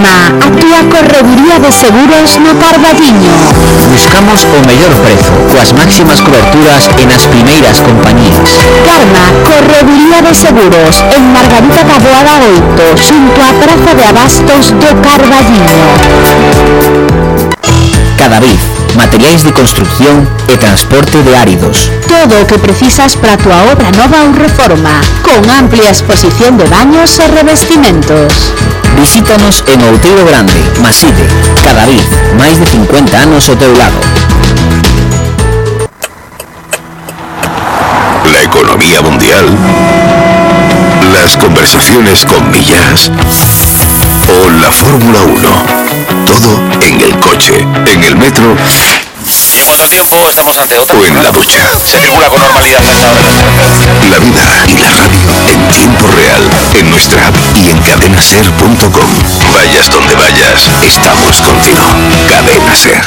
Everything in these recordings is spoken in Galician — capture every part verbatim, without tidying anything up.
Karma, a túa correduría de seguros no Carballiño. Buscamos o mellor prezo, coas máximas coberturas e nas primeiras compañías. Karma, correduría de seguros, en Margarita Taboada oito, xunto á Praza de Abastos do Carballiño. Cadavid, materiais de construcción e transporte de áridos. Todo o que precisas para a túa obra nova ou reforma, con amplia exposición de baños e revestimentos. Visítanos en Outeiro Grande, Maside. Cadavid, máis de cincuenta anos ao teu lado. La economía mundial, las conversaciones con millas o la Fórmula uno. Todo en el coche, en el metro. Y en cuanto al tiempo, estamos ante otra. O en la ducha. Se circula con normalidad hasta ahora. La vida y la radio en tiempo real, en nuestra app y en cadena ser punto com. Vayas donde vayas, estamos contigo. Cadena Ser.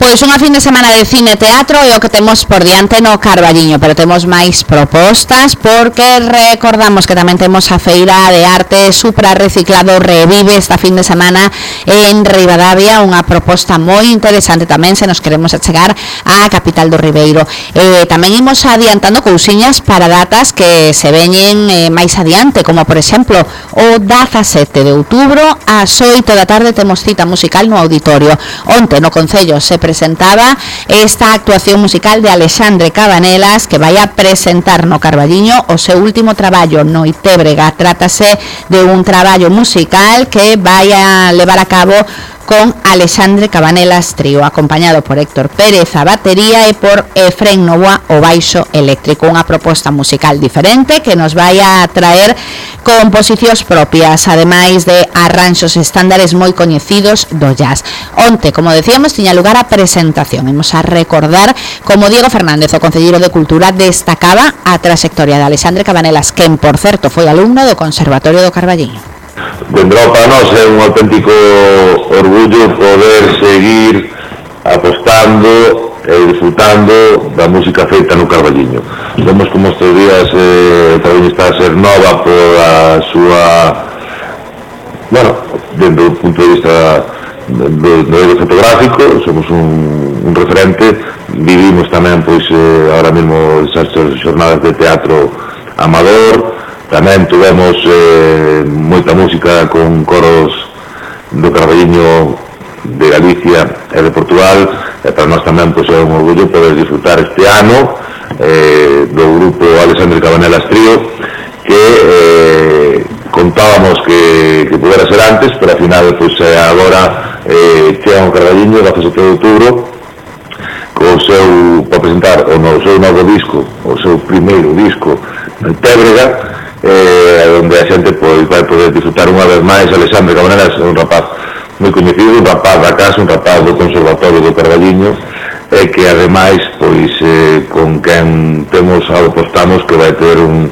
Pois unha fin de semana de cine e teatro é o que temos por diante no Carballiño, pero temos máis propostas porque recordamos que tamén temos a Feira de Arte Supra Reciclado Revive esta fin de semana en Ribadavia, unha proposta moi interesante tamén se nos queremos achegar á capital do Ribeiro. Eh, tamén imos adiantando cousiñas para datas que se veñen eh, máis adiante, como por exemplo o dezasete de outubro ás oito da tarde temos cita musical no auditorio. Onte no Concello se presentaba esta actuación musical de Alexandre Cabanelas, que vai a presentar no Carballiño o seu último traballo, Noitebrega. Trátase de un traballo musical que vai a levar a cabo con Alexandre Cabanelas Trío, acompañado por Héctor Pérez a batería e por Efrén Novoa o baixo eléctrico. Unha proposta musical diferente que nos vai a traer composicións propias, ademais de arranxos estándares moi coñecidos do jazz. Onte, como decíamos, tiña lugar a presentación. Imos a recordar como Diego Fernández, o concelleiro de Cultura, destacaba a trayectoria de Alexandre Cabanelas, quen, por certo, foi alumno do Conservatorio do Carballiño. Vendrá para nós é un auténtico orgullo poder seguir apostando e disfrutando da música feita no Carballiño. Vemos como estes días eh, o Carballiño está a ser nova por a súa, bueno, dentro do punto de vista do medio fotográfico, somos un, un referente. Vivimos tamén, pois, eh, ahora mesmo esas xornadas de teatro amador. Tamén tivemos eh, moita música con coros do Carballiño, de Galicia e de Portugal, e para nós tamén pois, é un orgullo poder disfrutar este ano eh, do grupo Alexandre Cabanelas Trío, que eh, contábamos que, que pudera ser antes, pero ao final pois, agora eh, chega o Carballiño, dezasete de outubro, co seu, para presentar o no, seu novo disco, o seu primeiro disco, Noitebrega, eh, onde a xente pois, vai poder disfrutar unha vez máis. Alexandre Cabanelas é un rapaz moi coñecido, un rapaz da casa, un rapaz do Conservatorio do Carballiño, e que ademais pois, eh, con quen temos apostamos que vai ter un,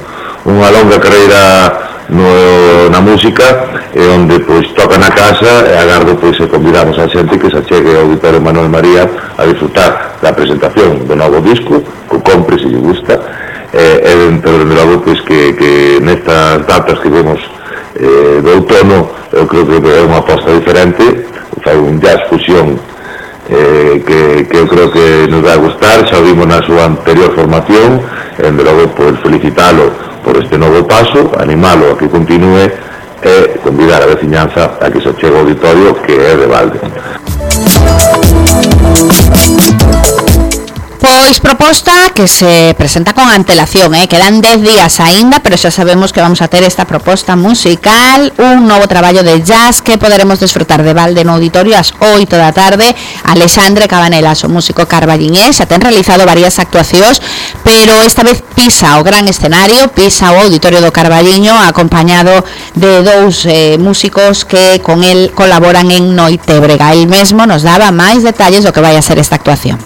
unha longa carreira no, na música, e onde pois, toca na casa, e agardo pois, e convidamos a xente que se achegue ao Auditorio Manuel María a disfrutar da presentación do novo disco, que compre se lle gusta. E eh, dentro de logo pois, que, que nestas datas que vemos eh, do outono, eu creo que é unha aposta diferente, fai un jazz fusión eh, que, que eu creo que nos vai a gustar. Xa o vimos na súa anterior formación, e de logo pois, felicitalo por este novo paso, animalo a que continúe e convidar a veciñanza a que se chegue ao auditorio, que é de balde. Pois proposta que se presenta con antelación, eh? Quedan dez días aínda, pero xa sabemos que vamos a ter esta proposta musical, un novo traballo de jazz que poderemos desfrutar de balde no auditorio ás oito da tarde. Alexandre Cabanelas, o músico carballiñés, xa ten realizado varias actuacións, pero esta vez pisa o gran escenario, pisa o auditorio do Carballiño, acompañado de dous eh, músicos que con el colaboran en Noitebrega. El mesmo nos daba máis detalles do que vai a ser esta actuación.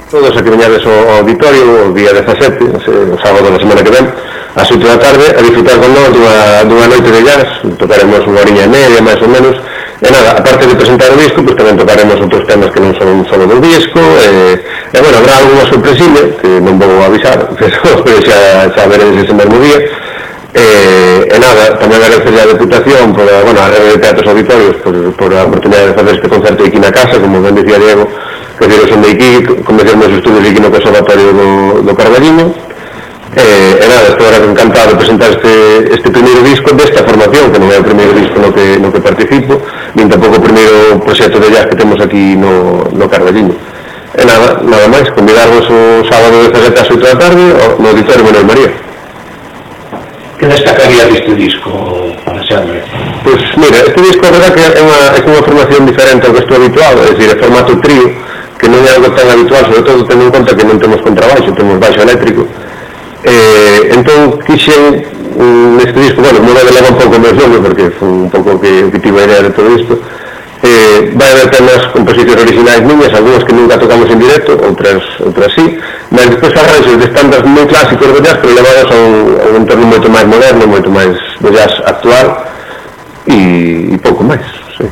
Todos a que veñades ao auditorio o día dezasete, o sábado da semana que ven, ás oito da tarde, a disfrutar con nós dunha, dunha noite de jazz. Tocaremos unha horiña e media, máis ou menos, E nada, aparte de presentar o disco, pues tamén tocaremos outros temas que non son solo do disco, e, e bueno, habrá algunha sorpresilla, que non vou avisar, pero, pero xa, xa veredes ese mesmo día. E, e nada, tamén agradecer a Deputación por, bueno, a Rede de Teatros Auditorios por, por a oportunidade de facer este concerto aquí na casa, como ben dicía Diego, que diros son de aquí, comecer meus estudios aquí no Conservatorio do, do Carballiño. E, e nada, estou agora encantado de presentar este, este primeiro disco desta formación, que non é o primeiro disco no que, no que participo, nin tampouco o primeiro proxecto de jazz que temos aquí no, no Carballiño. E nada, nada máis, convidarvos o sábado dezasete ás oito da tarde no Auditorio Manuel María. Que destacaría deste disco, Alexandre? Pois mira, este disco a verdad que é unha, é unha formación diferente ao que estou habituado, é dicir, é formato trío, que non é algo tan habitual, sobre todo tendo en conta que non temos contrabaixo, temos baixo eléctrico. Eh, entón quixen neste disco, bueno, non me leva un pouco máis longo porque foi un pouco que, que tive a idea de todo isto. Eh, vai haber temas, composicións originais miñas, algunhas que nunca tocamos en directo, outras, outras sí, mas despois arranxos de estándares moi clásicos de jazz, pero levados a un, a un entorno moito máis moderno, moito máis de jazz actual e, e pouco máis, sí.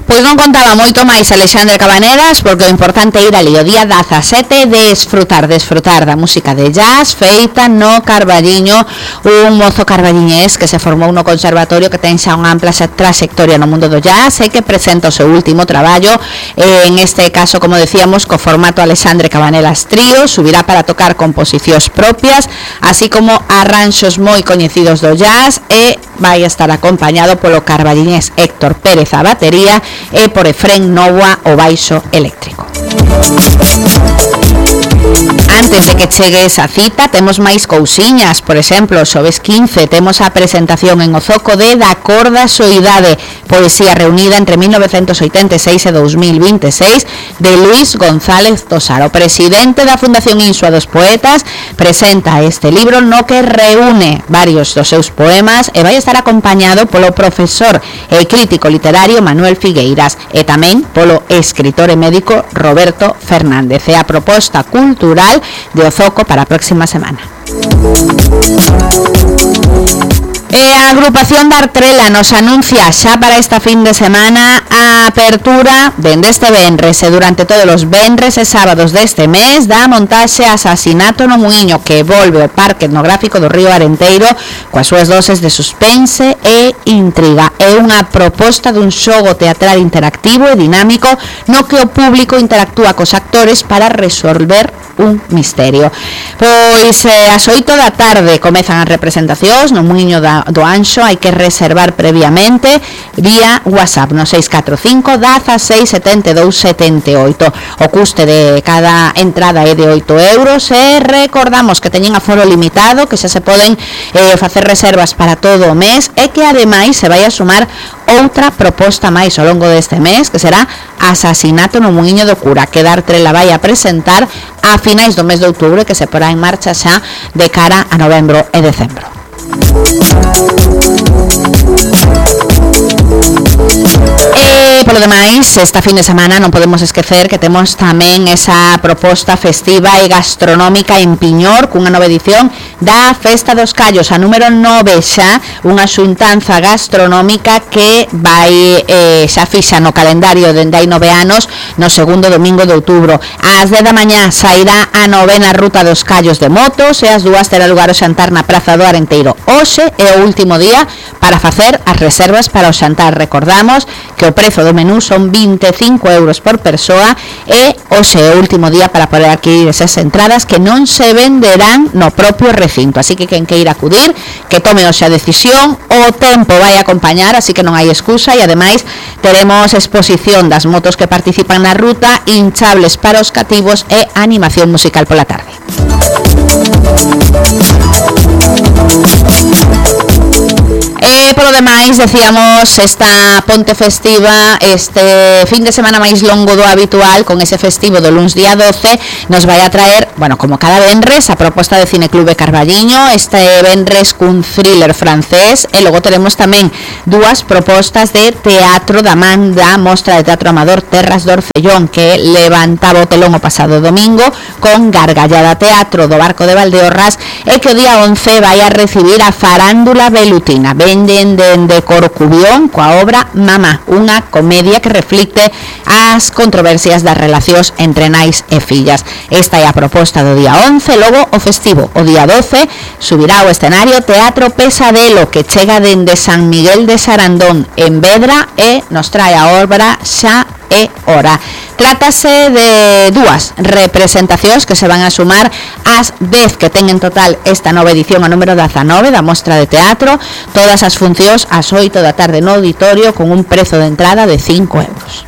Pois non contaba moito máis Alexandre Cabanedas, porque o importante é ir ali o día dezasete, desfrutar, desfrutar da música de jazz feita no Carballiño, un mozo carballiñés que se formou no conservatorio, que ten xa unha ampla trayectoria no mundo do jazz e que presenta o seu último traballo, en este caso, como decíamos, co formato Alexandre Cabanedas Trío. Subirá para tocar composicións propias, así como arranxos moi coñecidos do jazz, e vai estar acompañado polo carballiñés Héctor Pérez a batería e por Efrén Novoa o baixo eléctrico. Antes de que chegue esa cita, temos máis cousiñas. Por exemplo, o xoves quince temos a presentación en Ozoco de Da Corda Soidade, poesía reunida entre mil novecentos oitenta e seis e dous mil vinte e seis, de Luis González Tosar. O presidente da Fundación Insua dos Poetas presenta este libro no que reúne varios dos seus poemas e vai estar acompañado polo profesor e crítico literario Manuel Figueiras e tamén polo escritor e médico Roberto Fernández. É a proposta cultural de Ozoco para a próxima semana. E a agrupación da Artrela nos anuncia xa para esta fin de semana a apertura dende este venres e durante todos os venres e sábados deste mes da montaxe Asasinato no Muiño, que volve ao Parque Etnográfico do Río Arenteiro coas súas doses de suspense e intriga. É unha proposta dun xogo teatral interactivo e dinámico no que o público interactúa cos actores para resolver un misterio. Pois eh, ás oito da tarde comezan as representacións no Muiño da, do Anxo. Hai que reservar previamente vía WhatsApp no seis catro cinco, dezasseis, setenta e dous, setenta e oito. O custe de cada entrada é de oito euros e recordamos que teñen aforo limitado, que xa se poden eh, facer reservas para todo o mes e que ademais se vai a sumar outra proposta máis ao longo deste mes, que será Asasinato no Muiño do Cura, que da Artrela vai a presentar a finais do mes de outubro, que se porá en marcha xa de cara a novembro e decembro. E polo demais, esta fin de semana non podemos esquecer que temos tamén esa proposta festiva e gastronómica en Piñor, cunha nova edición da Festa dos Callos, a número nove xa, unha xuntanza gastronómica que vai eh, xa fixa no calendario dende hai nove anos, no segundo domingo de outubro. Ás dez da mañá sairá a novena ruta dos Callos de motos e ás dúas terá lugar o xantar na Praza do Arenteiro. Hoxe é o último día para facer as reservas para o xantar. Recordamos que o prezo do menú son vinte e cinco euros por persoa e hoxe é o último día para poder adquirir esas entradas, que non se venderán no propio recinto, así que quen queira acudir, que tome hoxe a decisión. O tempo vai acompañar, así que non hai excusa, e ademais teremos exposición das motos que participan na ruta, hinchables para os cativos e animación musical pola tarde. E polo demais, decíamos, esta ponte festiva, este fin de semana máis longo do habitual, con ese festivo do luns día doce, nos vai a traer, bueno, como cada venres, a proposta de Cineclube Carballiño, este venres cun thriller francés, e logo teremos tamén dúas propostas de teatro da man da Mostra de Teatro Amador Terras do Orfellón, que levantaba o telón o pasado domingo, con Gargallada Teatro do Barco de Valdeorras, e que o día once vai a recibir a Farándula Velutina. Vende tamén dende Corcubión coa obra Mamá, unha comedia que reflicte as controversias das relacións entre nais e fillas. Esta é a proposta do día once, logo o festivo. O día doce subirá ao escenario Teatro Pesadelo, que chega dende San Miguel de Sarandón en Vedra e nos trae a obra Xa é hora. Trátase de dúas representacións que se van a sumar ás dez que ten en total esta nova edición, a número dezanove da Mostra de Teatro, todas as funcións ás oito da tarde no auditorio con un prezo de entrada de cinco euros.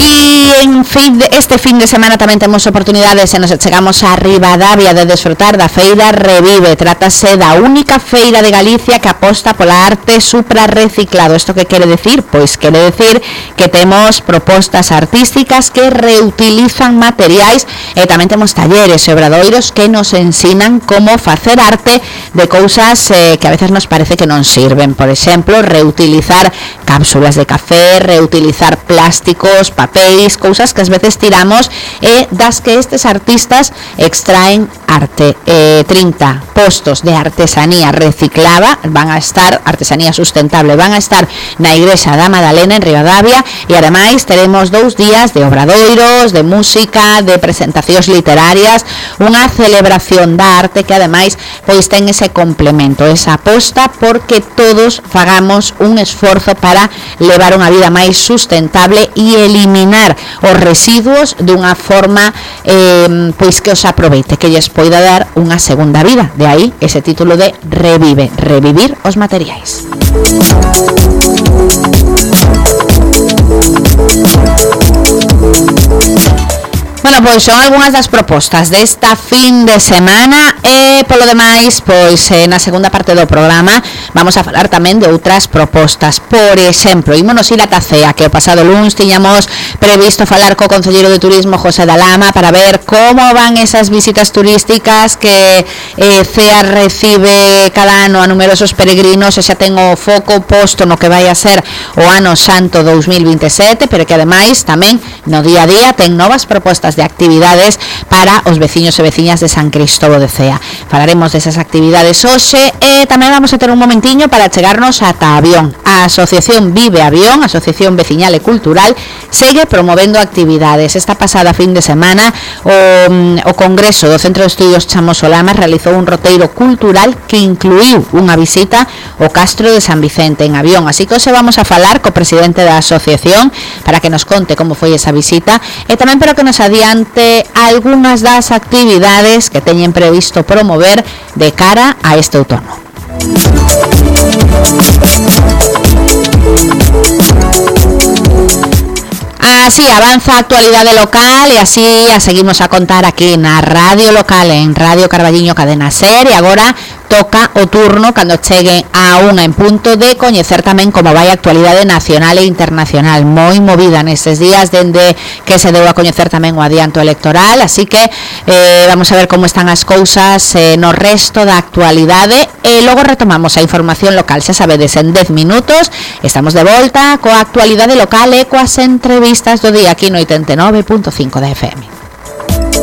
E en fin, este fin de semana tamén temos oportunidades e nos chegamos a Ribadavia de desfrutar da feira Revive. Trátase da única feira de Galicia que aposta pola arte suprarreciclado. Isto que quere decir? Pois quere decir que temos propostas artísticas que reutilizan materiais e tamén temos talleres e obradoiros que nos ensinan como facer arte de cousas eh, que a veces nos parece que non sirven. Por exemplo, reutilizar cápsulas de café, reutilizar plásticos, papéis, cousas que ás veces tiramos e das que estes artistas extraen arte. Eh, trinta postos de artesanía reciclada van a estar, artesanía sustentable, van a estar na Igrexa da Madalena en Ribadavia e ademais teremos dous días de obradoiros, de música, de presentacións literarias, unha celebración da arte que ademais pois ten ese complemento, esa aposta porque todos fagamos un esforzo para levar unha vida máis sustentable e eliminar os residuos dunha forma eh, pois que os aproveite, que lles poida dar unha segunda vida. De aí ese título de Revive, revivir os materiais. Bueno, pois son algunhas das propostas desta fin de semana e polo demais, pois eh, na segunda parte do programa vamos a falar tamén de outras propostas. Por exemplo, ímonos ir a Tacea, que o pasado luns tiñamos previsto falar co concelleiro de Turismo José da Lama para ver como van esas visitas turísticas que eh, Cea recibe cada ano a numerosos peregrinos e xa ten o foco posto no que vai a ser o Ano Santo dous mil vinte e sete, pero que ademais tamén no día a día ten novas propostas de actividades para os veciños e veciñas de San Cristóbal de Cea. Falaremos desas actividades hoxe e tamén vamos a ter un momentiño para chegarnos ata Avión. A Asociación Vive Avión, Asociación Veciñal e Cultural, segue promovendo actividades. Esta pasada fin de semana o, o Congreso do Centro de Estudios Chamo Solama realizou un roteiro cultural que incluiu unha visita ao Castro de San Vicente en Avión. Así que hoxe vamos a falar co presidente da asociación para que nos conte como foi esa visita e tamén para que nos adiante algunhas das actividades que teñen previsto promover de cara a este outono. Así avanza a actualidade local e así a seguimos a contar aquí na radio local en Radio Carballiño Cadena Ser e agora toca o turno cando chegue a unha en punto de coñecer tamén como vai a actualidade nacional e internacional, moi movida nestes días dende que se deu a coñecer tamén o adianto electoral, así que eh, vamos a ver como están as cousas eh, no resto da actualidade e logo retomamos a información local. Xa sabedes, en dez minutos estamos de volta coa actualidade local e coas entrevistas do día aquí no oitenta e nove punto cinco da F M.